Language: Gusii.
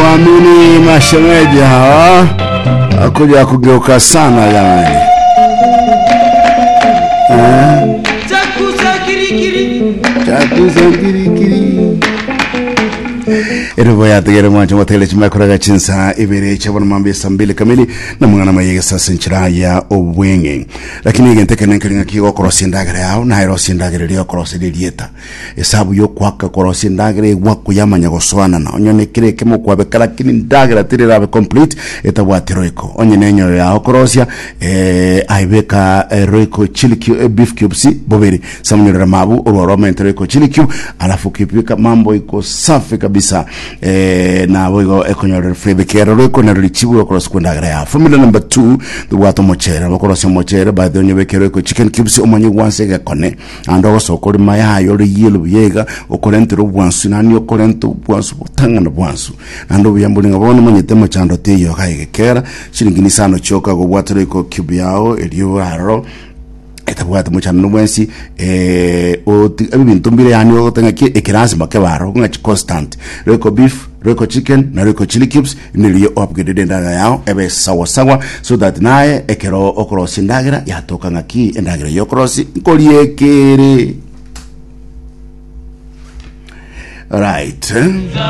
Waamini mashemeji hawa akuja kugeuka sana jamani. Chakusa kirikiri. Chakusa kirikiri. Erobo yategere mwancho motele chimakoraga chinsa ibere chabona mambe saa mbili kamili na mwana mayege sasa nchira ya obwenge lakini egente kene nkeri ng'aki gokorosia endagera yao naye rosia endagera eria okoroseria erieta Esabu y'okoaka korosia endagera egwakwa yamanya gosoanana, onye nekere ekemo kwabeka lakini endagera teri erabe complete etabwati royco. Onye nenyoyo yao korosia eh, aibeka eh, royco chili cube, eh, beef cubes bobere samunyorera mabu orwaro omente royco chili cube alafu ukipika mambo iko safi kabisa eh, nabo igo ekonyorera flavor kero royco nero richibu okorosia kwa endagera yao. Formula number 2 tobwate omochere nabo okorosia omochere by the way onyobeke royco chicken cubes omanye gwansa egekone Naende ogosoka ore mayaye ore yellow buya iga, okorentere obwansu, nani okorenta obwansu botang'ana bwansu. Naende obuya mbore ng'a bono omanyete mochando teiyo iga egekera, chiringi nisano chioka gobwatera iko cube yao erio aroro etabwati mochando bwensi eh, oti ebinto mbire yaani ogote ng'aki eke lazima kebe aroro ng'a constant. Royco beef, Royco chicken na Royco chili cubes Nirio oupgraded endagera yao ebe sawa sawa so that naye ekero okorosia endagera yatoka ng'aki endagera eyio okorosia nkoria ekere. Right.